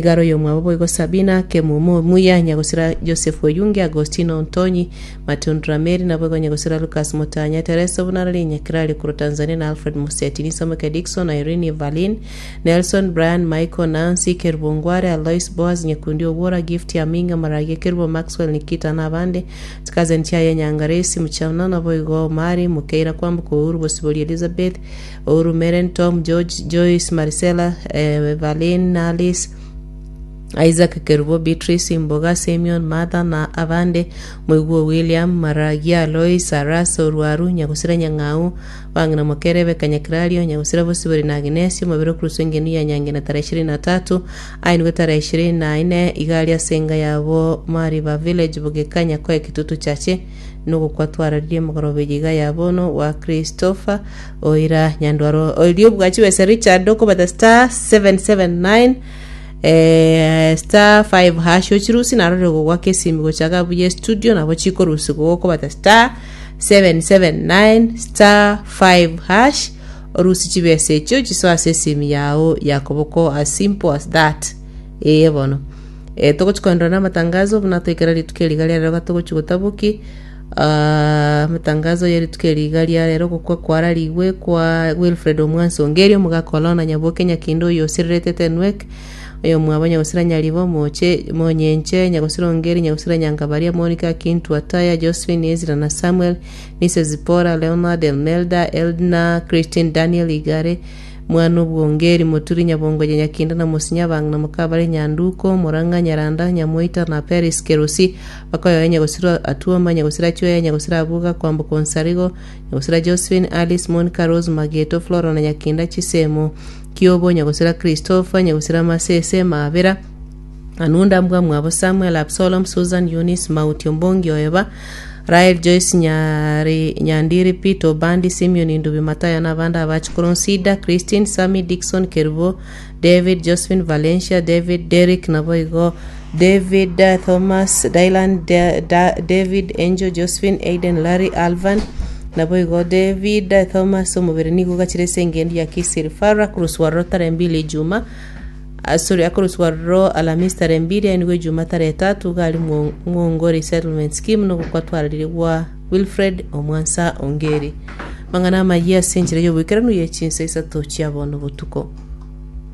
Igare oyomwabo boigo Sabina, Kemumu omuya, nyagosira Joseph Oyunge, Agostino Ontonyi, Matundura Mary, naboigo nyagosira Lucas Mutanya, Teresa Obunarari, Nyakirari korwa Tanzania na Alfred Museti, Nisomoke Dickson, Irene Evaline, Nelson, Brian, Michael, Nancy, Kerubo Ngware, Alois, Boaz, Nyekundi Owuora, Gift Aminga, Maragia Kerubo, Maxwell, Nikita na abande, Chikazeni chiaye Nyangaresi, Muchana, naboigo Omari, Mukeira Kwamboka, Uhuru Bosibori, Elizabeth, Ouru Meren, Tom, George, Joyce, Marisela, Evaline, Alice, Isaac, Kerubo, Beatrice, Mboga, Simeon, Martha na abande, Moigwa William, Maragia, Lois, Arasa, Orwaru, Nyagusira Nyang'au, Bang'ina Mokere, Rebecca Nyakirario, Nyagusira Bosibori na Agnes, Omobere Okuruswa Engenu ya Nyangena tarehe ishirini na tatu, aenigwe tarehe ishirini na ine, iga aria ase enga yabo Mariba Village, Bogeka, Nyakoe, Kitutu Chache. Nogokwa twararirie mogoroba eye iga ya bono wa Christopher oira nyandwaro oria obwachi bwese Richard okobata star 779 eh, star 5 hash ochirusi narore gogwaka esimi gochaka buya studio nabo chikorusi gokobata star 779 star 5 hash orusi chibesa echio chisoe ase esimi yao ya koboko as simple as that ee bono Eh, togochi koenderera na amatangazo buna toikera rituko eri iga ria rero gatogochi gotaboki ah, amatangazo ye rituko eri iga ria rero gokwa kwararigwe kwa Wilfred Omwansa Ongeri omogaka o Lorna Nyaboke Nyakindo oyo osirerete Tenwek oyomwabo Nyagosira Nyaribo Moche Monyenche Nyagosira Ongeri Nyagosira Nyangabaria Monica Kintu Ataya Josephine Ezra na Samuel Nise Zipporah Leonard Elmelda Eldna Christine Daniel Igare Mwana obwongeri, moturi nyabongoja nyakinda na mosinya abang'ina mokabare nyanduko, morang'a nyaranda nyamoita na Peris kerosi, bakoyoe nyagosira atuoma nyagosira chweya nyagosira abuga kwamboka onsarigo nyagosira Josephine Alice Monica Rose Mageto Flora na nyakinda chisemo kiobo nyagosira Christopher nyagosira masese mabera Anunda mbwa mwabo Samuel, Absalom, Susan, Eunice, Mauti, Ombongi, Oeba, Rael, Joyce, Nyari, Nyandiri, Peter, Obandi, Simeon, Ndubi, Matayo na abande abachukuru Nsida, Christine, Sammy, Dickson, Kerubo, David, Josephine, Valencia, David, Derrick, naboigo David, eh, Thomas, Dylan, Da- Da- David, Angel, Josephine, Aiden, Larry, Alvan, naboigo David, eh, Thomas, omobere nigo ogachire ase engendu ya Kisiri Farah, koroswa Rotary mbili Ijuma, Asore akoroswa aroro Alamisi tarehe mbiri aye nigo Ijuma tarehe tatu iga aria Mwongo Resettlement Scheme nogokwa twararire gwa Wilfred Omwansa Ongeri. Mang'ana amayia ase enchera y'oboikeranu ye chinsa isato chia bono botuko.